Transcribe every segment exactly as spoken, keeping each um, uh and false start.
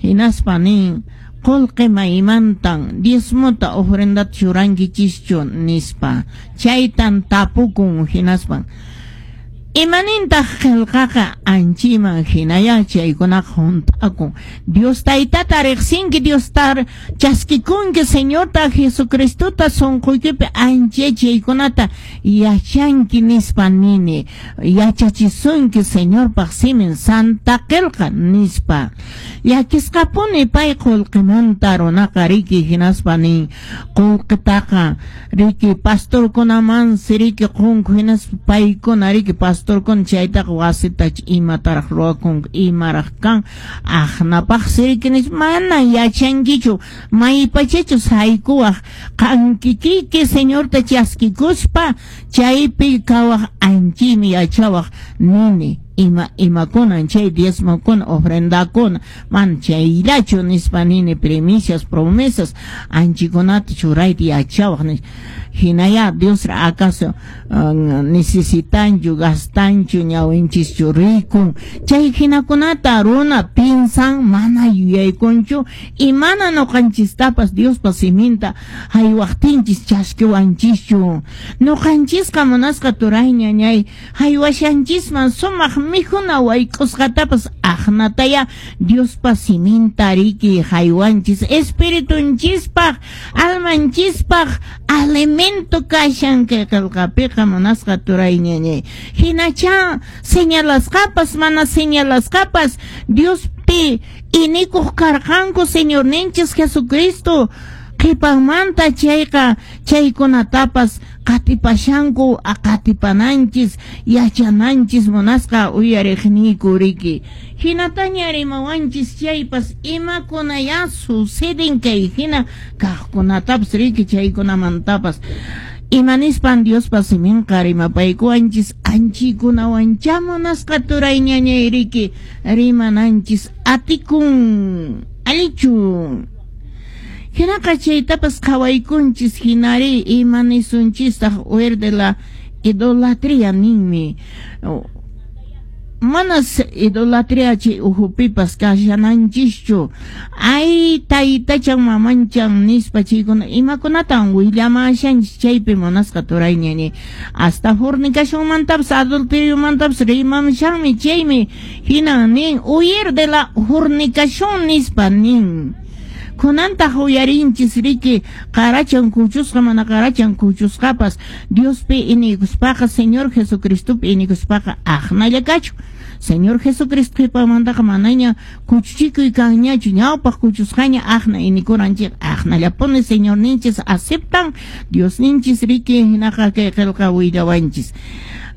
Hinaspa nin qullqi maymantan diezmota ofrendata churankichischu nispa chaytan tapukun. Hinaspan imanintaq qillqaqa? Anchiman hinaya chaykunaqa hunt'akun. Dios Taytata riqsinki, Diosta chaskikunki, Señorta Jesucristota sunquykipi ancha chaykunata yachanki nispa nini, yachachisunki Señorpaq simin Santa Qillqa nispa. Llakisqapuni pay qullqimanta runaqa riki. Hinaspa nin qullqitaqa riki pastorkunamansi riki qunku, hinaspa paykuna riki pastorkuna chaytaqa wasita imataraq ruwakunku, imaraq kan aqnapaqsi riki nispa. Mana yachankichu maypachachus haykuwaq qan kikiyki Señorta chaskikuspa chaypi kawaq, anchimi yachawaq nini ima imakunan chay diezmokuna ofrendakuna, mana chayllachu nispa nini, primicias, promesas anchikunata churayta yachawaq nispa. Hinaya Diosra acaso uh, necesitanchu, gastanchu, ñawinchischu rikun? Chay hinakunata runa piensan, mana yuyaykunchu imana ñuqanchistapas Diospa siminta haywaqtinchis chaskiwanchischu. Ñuqanchisqa munasqa turay ñañay haywashanchisman sumaq mikhuna wayk'usqatapas aqnataya Diospa siminta riki haywanchis, espiritunchispaq almanchispaq alimento kashan kay qillqapiqa munasqa turay ñañay. Hinacha señalasqapas mana señalasqapas Diospi inikuq karqanku Señorninchis Jesucristo qhipanmanta chayqa chaykunatapas qatipashanku, qatipananchis yachananchis munasqa uyariqniyku riki. Hinataña rimawanchis chaypas imakunaya suceden kay hina kaqkunatapas riki, chaykunamantapas imanispan Diospa siminqa rimapaykuwanchis anchikunawancha munasqa turay ñañay riki rimananchis atikun allichu. Hinaqa chaytapas qhawaykunchis. Hinari imanisunchistaq? Huir de la idolatría ninmi. Manas idolatría chay uhupipas kashananchischu, ay taytachan mamanchan nispa chaykuna imakunatan willamashanchis chaypi munasqa turay ñañay. Hasta fornicacionmantapas adulteriomantapas rimamushanmi chaymi. Hinan nin huir de la fornicación nispa nin. Kunantaq uyarinchis riki qarachan kuchusqa mana qarachan kuchusqapas Diospi inikuspaqa, Señor Jesucristopi inikuspaqa aqnalla kachu. Señor Jesucristo qhipamantaqa manaña kuchuchikuy kanñachu, ñawpaq kuchusqaña aqna inikuranchik, aqnallapuni Señorninchis aceptan Diosninchis riki. Hinaqa kay qillqa willawanchis.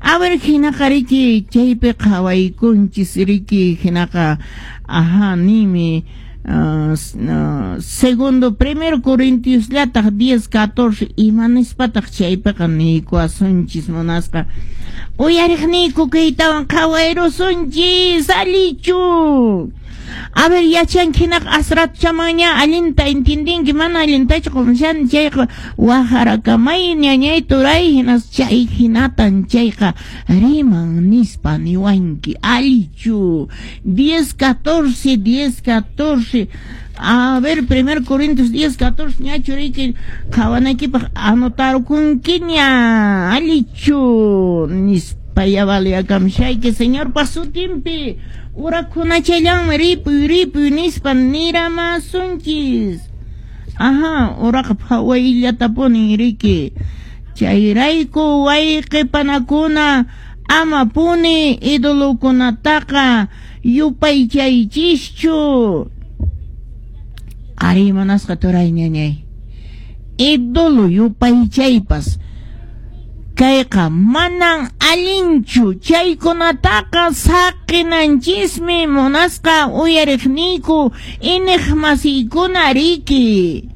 A ver, hinaqa riki chaypi qhawaykunchis riki. Hinaqa aha nimi Uh, uh, segundo primero Corintios llataq diez catorce imanispataq chaypiqa niykuwasunchis munasqa uyariqniyku kaytawan qhawayrusunchis allichu. A ver, yachanki hinaqa asratuchamaña allinta entendinki, mana allintachu qumshani chayqa waqharakamay ñañay turay, hinas chay hinatan chayqa riman nispa niwanki allichu. diez catorce, diez catorce. A ver, primer Corintios diez catorce ñachu riki qhawanaykipaq anotarkunkiña allichu nispa ya valiakamshayki Señorpa sutinpi urakunachallanmi ripuy ripuy nispa niramasunchis. Aha, uraqa phawayllatapunin riki. Chayrayku wayqi panakuna amapuni idolokunataqa yupaychaychischu. Ari munasqa turay ñañay, ídolo yupaychaypas kayqa manan allinchu, chaykunataqa saqinanchismi munasqa uyariqniyku iniq masiykuna riki.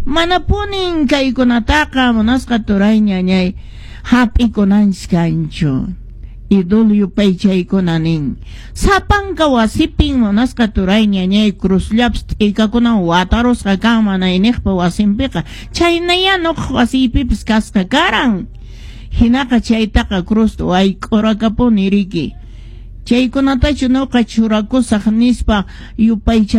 Manapunin kaykunataqa munasqa turay ñañay hap'ikunanchis kanchu ídolo yupaychaykuna nin. Sapanka wasipin munasqa turay ñañay cruzllapas t'ikakunan watarusqa kan mana iniqpa wasinpiqa, chaynaya nuqaq wasiypipas kasqa karan. Hinaqa chaytaqa cruzta wayk'urakapuni riki, chaykunatachu nuqa churakusaq nispa yupaycha.